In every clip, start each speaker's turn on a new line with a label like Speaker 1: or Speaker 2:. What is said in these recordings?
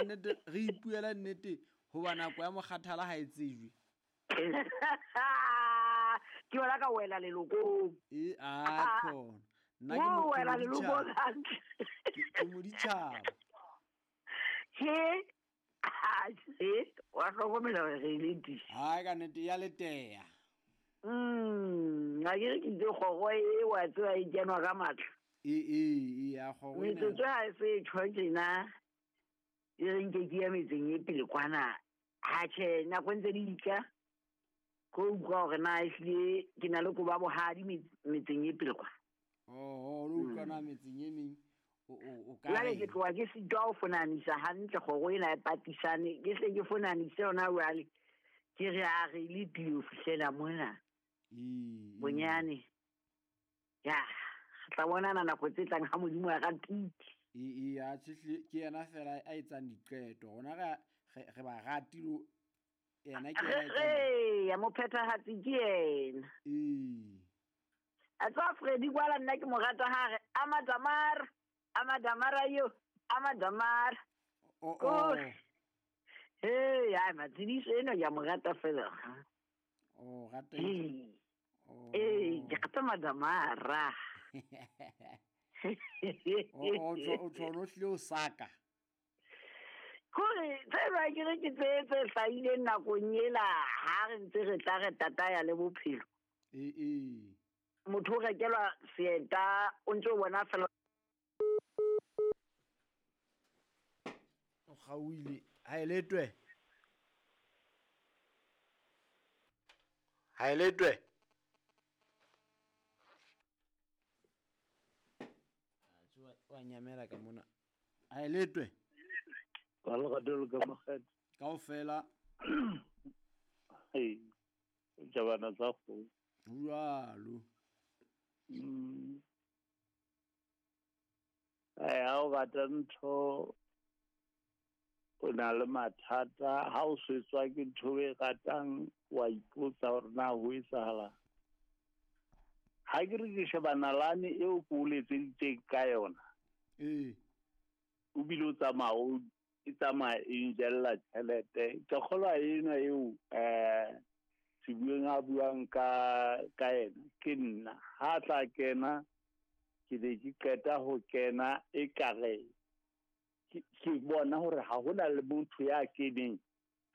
Speaker 1: nnete re ipuela nnete hoba nako ya mokgathala ha e tsejwe.
Speaker 2: Ke yona ka wela lelokong.
Speaker 1: E a khona. Nna ke
Speaker 2: Mo wela lelokong
Speaker 1: moditjhaba.
Speaker 2: hantle.
Speaker 1: Ke moditjhaba.
Speaker 2: He. He, wa hlokomela hore re ile di.
Speaker 1: Hai ka nnete ya leteya.
Speaker 2: A ke re ke itse kgoro e wa tseba e kenwa ka matla.
Speaker 1: E e e ya kgoro ena.
Speaker 2: Metsotso ha e se e tjho tjena. E re nke ke ya metseng e pele kwana. Ha tjhe, nako ntse di tla. Ko utlwa hore na ehlile ke na le koba bohadi metseng e pele kwa.
Speaker 1: Oh, lo utlwa na metseng e meng o ka
Speaker 2: Jwale
Speaker 1: reng?
Speaker 2: ke tloha ke sitwa ho fonanisa hantle kgoro ena e patisane. Ke hle ke fonanise yona jwale. Ke re a re le tile ho fihlela mona.
Speaker 1: Ee.
Speaker 2: Bonyane. Ya, re tla bonana nako tse tlang ha Modimo a ratile.
Speaker 1: Ee, ee, a tjhe, ke yena fela a etsang diqeto. Rona re ba ratile yena ke yena a etsang
Speaker 2: Re, ya mophethahatsi ke yena.
Speaker 1: Ee.
Speaker 2: A tswa Freddy kwala nna ke mo rata ha re Amadamara, Amadamara yo, Amadamara.
Speaker 1: O, o.
Speaker 2: Oh. Hey, ai matsidiso eno ke a mo rata fela.
Speaker 1: O rata
Speaker 2: Ee.
Speaker 1: Oh.
Speaker 2: Ee, ke rata Madamara.
Speaker 1: O, o tshwana o hlile o saka.
Speaker 2: Kore tse ba ke re ke tse tse hlahileng nakong ela ha re ntse re tla re tataya le bophelo.
Speaker 1: Ee, ee.
Speaker 2: Motho o rekelwa seeta o ntse o bona fela.
Speaker 1: O kgaohile. Ha e letwe. Ha e letwe. Wa nyamela ka mona. Ha e letwe.
Speaker 3: Ka lerato le ka makgethe.
Speaker 1: Kaofela.
Speaker 3: Ee, jabana tsa kgomo.
Speaker 1: Jwalo.
Speaker 3: Ai, ha o rata ntho, o na le mathata. Ha o swetswa ke ntho e ratang, wa ipotsa hore na ho etsahalang. Ha ke re ke sheba nalane eo ke o letseditseng ka yona.
Speaker 1: Ee.
Speaker 3: O bile o tsamaya o e tsamaya e njella tjhelete. Ke kgolwa ena eo, Sebueng a buang ka yena, ke nna. Ha tla kena, ke ne ke qeta ho kena ekare ke bona hore ha hona le motho ya keneng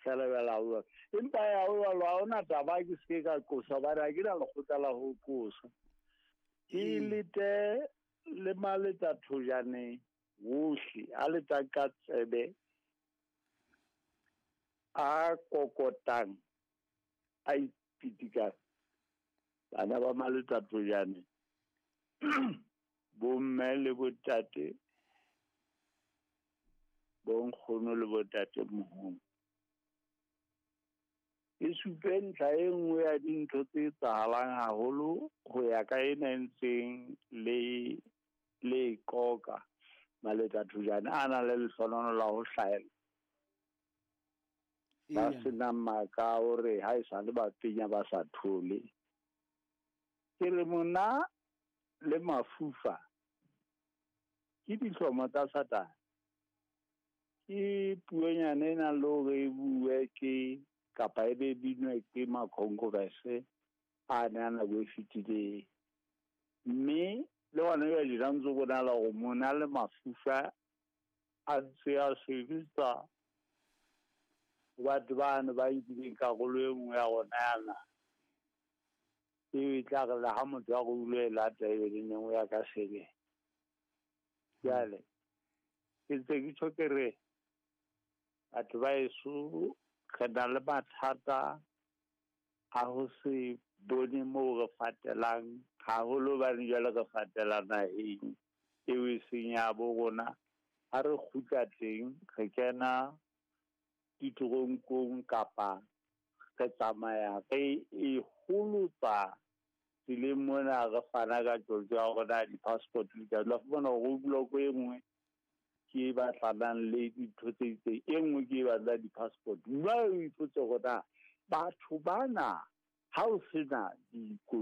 Speaker 3: fela jwalo ha jwalo. Empa ya ho jwalo, ha hona taba, ke se ke ka qosa hobane ha ke na lekgotla la ho qosa. Ke lete le maletsa thojane wohle, a letsa ka tsebe, a kokotang, a ipitikang. Bana ba maletsa thojane, bomme le botate, bonkgono le botate moholo. E supe ntlha e nngwe ya dintho tse etsahalang haholo ho ya ka ena e ntseng le qoka maletsa thojane a nang le lehlohonolo la ho hlahella. Ba senang maka hore ha e sa le ba penya ba sa thole. Ke re mona le mafufa ke dihlomo tsa Satane. Ke puonyana e nang le hore e bue ke kapa e be binwe ke makhonkhorese a ne a nako e fetileng. Mme le hona jwale tjena ntse ho bonahala hore mona le mafufa a ntse a sebetsa ho batho bano ba nkileng karolo e nngwe ya rona ya naha. Eo e tla re le ha motho a re o lo e lata ebe le neng o ya ka sebele. Jwale ke ntse ke tjho ke re batho ba heso re na le mathata a ho se bone moo re fatelang haholo hobane jwale re fatela naheng eo e seng ya bo rona. Ha re kgutla teng re kena ditoronkong kapa re tsamaya re e holotsa tseleng mona re fana ka tjotjo ya rona di-passport di ka la fumana hore roadblock e nngwe ke e batlanang le dintho tse itseng, e nngwe ke e batlang di-passport. Jwale o ipotse hore na batho bana ha o sena dikoloi